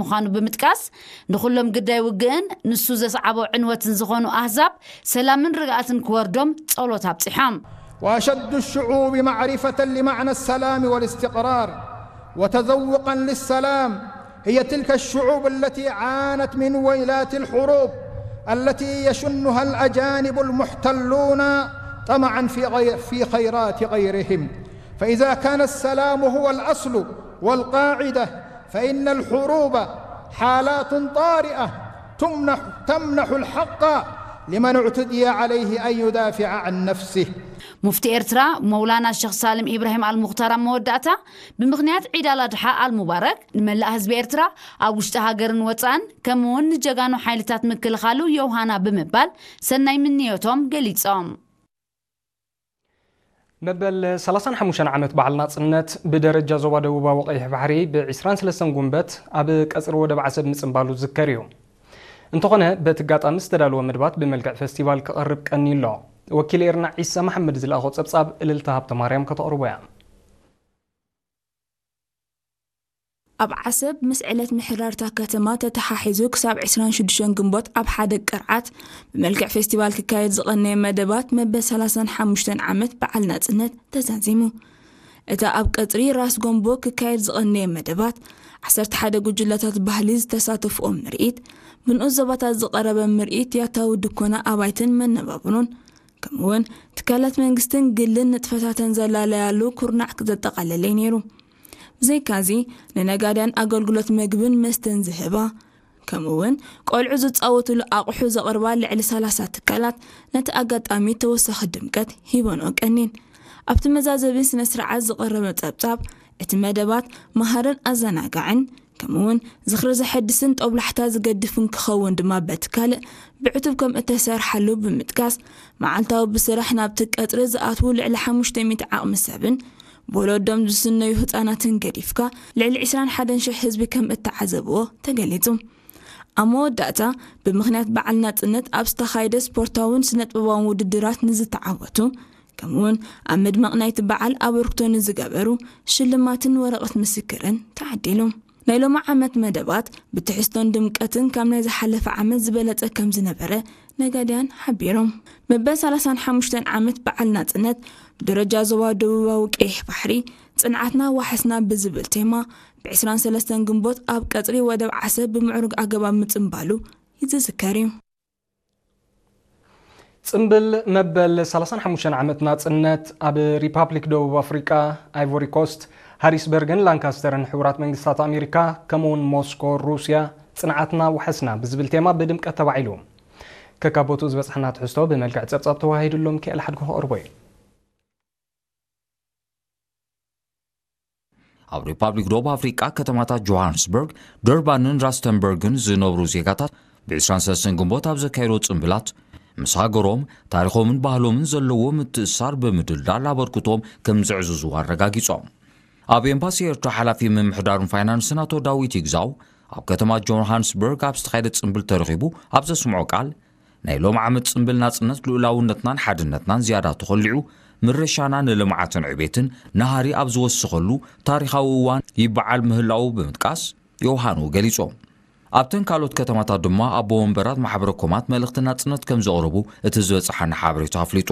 ምዃኑ ብምጥቃስ፣ ንኹሎም ግዳይ ውግእን ንሱ ዘስዓቦ ዕንወትን ዝኾኑ ኣህዛብ ሰላምን ርግኣትን ክወርዶም ጸሎት ኣብጺሖም። وأشد الشعوب معرفة لمعنى السلام والاستقرار وتذوقا للسلام هي تلك الشعوب التي عانت من ويلات الحروب التي يشنها الأجانب المحتلون طمعا في غير في خيرات غيرهم. فإذا كان السلام هو الأصل والقاعدة فإن الحروب حالات طارئة تمنح تمنح الحق لمن اعتدي عليه أن يدافع عن نفسه. ሙፍቲ ኤርትራ መውላና ሸኽ ሳልም ኢብራሂም ኣልሙኽታር ኣብ መወዳእታ ብምኽንያት ዒድ ኣላድሓ ኣልሙባረክ ንመላእ ህዝቢ ኤርትራ ኣብ ውሽጢ ሃገርን ወጻእን ከምኡ እውን ንጀጋኑ ሓይልታት ምክልኻሉ የውሃና ብምባል ሰናይ ምንዮቶም ገሊጾም። መበል ሰላሳን ሓሙሽተን ዓመት በዓል ናጽነት ብደረጃ ዞባ ደቡባዊ ቀይሕ ባሕሪ ብ ዕስራን ሰለስተን ጉንበት ኣብ ቀጽሪ ወደብ ዓሰብ ምጽንባሉ ዝዝከር እዩ። እንተኾነ በቲ ኣጋጣሚ ዝተዳለወ መደባት ብመልክዕ ፈስቲቫል ክቐርብ ቀንዩ ኣሎ። ወኪል ኤርና ዒሳ መሓመድ ዝለኣኾ ጸብጻብ እልልታ ሃብተማርያም ከተቕርቦ እያ። ኣብ ዓሰብ ምስ ዕለት ምሕዳርታ ከተማ ተተሓሒዙ ክሳብ ዕስራን ሽዱሽተን ግንቦት ኣብ ሓደ ቅርዓት ብመልክዕ ፌስቲቫል ክካየድ ዝቐነየ መደባት መበል ሰላሳን ሓሙሽተን ዓመት በዓል ናጽነት ተዛዚሙ። እታ ኣብ ቀጽሪ ራስ ጎንቦ ክካየድ ዝቐነየ መደባት ዓሰርተ ሓደ ጉጅለታት ባህሊ ዝተሳተፍኦ ምርኢት፣ ብንኡስ ዞባታት ዝቐረበ ምርኢት ያታዊ ድኮና ኣባይትን መነባብሮን ከምኡውን ትካላት መንግስትን ግልን ንጥፈታተን ዘላለያሉ ኩርናዕ ዘጠቓለለ እዩ ነይሩ። ብዘይካዚ ንነጋድያን ኣገልግሎት መግብን መስተን ዝህባ ከምኡውን ቆልዑ ዝፃወትሉ ኣቑሑ ዘቕርባ ልዕሊ ሰላሳ ትካላት ነቲ ኣጋጣሚ ተወሳኺ ድምቀት ሂበንኦ ቀኒን። ኣብቲ መዛዘቢ ስነ ስርዓት ዝቐረበ ጸብጻብ እቲ መደባት መሃርን ኣዘናጋዕን ከምኡውን ዝኽሪ ዘሐድስን ጦብላሕታ ዝገድፍን ክኸውን ድማ በቲ ካልእ ብዕቱብ ከም እተሰርሓሉ ብምጥቃስ መዓልታዊ ብስራሕ ናብቲ ቀጽሪ ዝኣትዉ ልዕሊ ሓሙሽተ ሚእቲ ዓቕሚ ሰብን ብወለዶም ዝስነዩ ህጻናትን ገዲፍካ ልዕሊ ዕስራን ሓደን ሽሕ ህዝቢ ከም እተዓዘብዎ ተገሊጹ። ኣብ መወዳእታ ብምኽንያት በዓል ናጽነት ኣብ ዝተኻየደ ስፖርታውን ስነጥበባውን ውድድራት ንዝተዓወቱ ከምኡውን ኣብ ምድማቕ ናይቲ በዓል ኣበርክቶ ንዝገበሩ ሽልማትን ወረቐት ምስክርን ተዓዲሉ። ናይ ሎሚ ዓመት መደባት ብትሕዝቶን ድምቀትን ካብ ናይ ዝሓለፈ ዓመት ዝበለጸ ከም ዝነበረ ነጋድያን ሓቢሮም። መበል ሰላሳን ሓሙሽተን ዓመት በዓል ናጽነት ብደረጃ ዞባ ደቡባዊ ቀይሕ ባሕሪ ጽንዓትና ዋሕስና ብዝብል ቴማ ብ ዕስራን ሰለስተን ግንቦት ኣብ ቀጽሪ ወደብ ዓሰብ ብምዕሩግ ኣገባብ ምጽንባሉ ይዝዝከር እዩ። ጽምብል መበል ሰላሳን ሓሙሽተን ዓመት ናጽነት ኣብ ሪፓብሊክ ደቡብ ኣፍሪቃ፣ ኣይቮሪ ኮስት፣ ሃሪስበርግን ላንካስተርን ሕቡራት መንግስታት ኣሜሪካ ከምኡውን ሞስኮ ሩስያ ጽንዓትና ውሐስና ብዝብል ቴማ ብድምቀት ተባዒሉ። ከካቦቱ ዝበጽሐና ትሕዝቶ ብመልክዕ ጸብጻብ ተዋሂድሎም ክእል ሓድጎ ክቕርቦ እዩ። ኣብ ሪፓብሊክ ደቡብ ኣፍሪቃ ከተማታት ጆሃንስበርግ፣ ደርባንን ራስተንበርግን ዝነብሩ ዜጋታት ብ ዕስራን ሰለስተን ግንቦት ኣብ ዘካየዶ ጽምብላት ምስ ሃገሮም ታሪኾምን ባህሎምን ዘለዎ ምትእስሳር ብምድልዳል ኣበርክቶም ከም ዘዕዝዙ ኣረጋጊጾም። ኣብ ኤምባሲ ኤርትራ ሓላፊ ምምሕዳርን ፋይናንስን ኣቶ ዳዊት ይግዛው ኣብ ከተማ ጆሃንስበርግ ኣብ ዝተኻየደ ጽምብል ተረኺቡ ኣብ ዘስምዖ ቃል ናይ ሎም ዓመት ጽምብል ናጽነት ልኡላውነትናን ሓድነትናን ዝያዳ ተኾሊዑ ምርሻና ንልምዓትን ዕቤትን ናሃሪ ኣብ ዝወሰኸሉ ታሪኻዊ እዋን ይበዓል ምህላዉ ብምጥቃስ ዮውሃኑ ገሊጾም። ኣብተን ካልኦት ከተማታት ድማ ኣቦ ወንበራት ማሕበረ ኮማት መልእኽቲ ናጽነት ከም ዘቕረቡ እቲ ዝበጽሓና ሓበሬታ ኣፍሊጡ።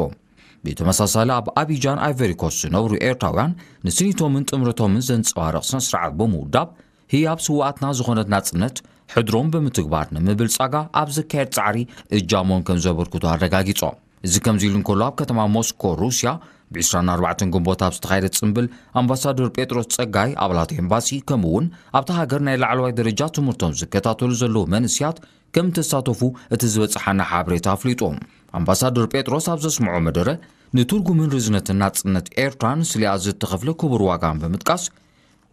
ብተመሳሳሊ ኣብ ኣቢጃን ኣይቨሪኮስት ዝነብሩ ኤርትራውያን ንስኒቶምን ጥምረቶምን ዘንጸባርቕ ስነ ስርዓት ብምውዳብ ህያብ ስውኣትና ዝኾነት ናጽነት ሕድሮም ብምትግባር ንምብልጻጋ ኣብ ዝካየድ ጻዕሪ እጃሞም ከም ዘበርክቱ ኣረጋጊጾም። እዚ ከምዚ ኢሉ እንከሎ ኣብ ከተማ ሞስኮ ሩስያ ብ ዕስራን ኣርባዕተን ግንቦት ኣብ ዝተኻየደ ጽምብል ኣምባሳደር ጴጥሮስ ጸጋይ ኣባላት ኤምባሲ ከምኡ እውን ኣብታ ሃገር ናይ ላዕለዋይ ደረጃ ትምህርቶም ዝከታተሉ ዘለዉ መንእስያት ከም እተሳተፉ እቲ ዝበጽሓና ሓበሬታ ኣፍሊጡ። ኣምባሳደር ጴጥሮስ ኣብ ዘስምዖ መደረ ንትርጉምን ርዝነትን ናጽነት ኤርትራን ስሊኣ ዝተኸፍለ ክቡር ዋጋን ብምጥቃስ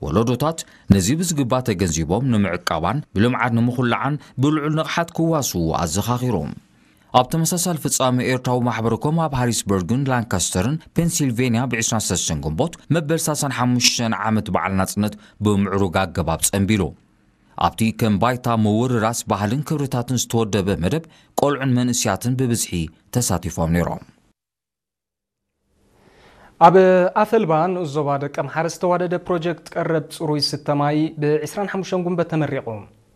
ወለዶታት ነዚ ብዝግባ ተገንዚቦም ንምዕቃባን ብልምዓት ንምኹላዓን ብልዑል ንቕሓት ክዋስዉ ኣዘኻኺሮም። ኣብ ተመሳሳሊ ፍጻመ ኤርትራዊ ማሕበረኮም ኣብ ሃሪስበርግን ላንካስተርን ፔንሲልቬንያ ብ ዕስራን ሰለስተን ግንቦት መበል ሰላሳን ሓሙሽተን ዓመት በዓል ናጽነት ብምዕሩግ ኣገባብ ጸንቢሉ። ኣብቲ ከም ባይታ ምውርራስ ባህልን ክብርታትን ዝተወደበ መደብ ቆልዑን መንእስያትን ብብዝሒ ተሳቲፎም ነይሮም። ኣብ ኣፈልባ ንኡስ ዞባ ደቀምሓረ ዝተዋደደ ፕሮጀክት ቀረብ ጽሩይ ስተ ማይ ብ ዕስራን ሓሙሽተን ጉንበት ተመሪቑ።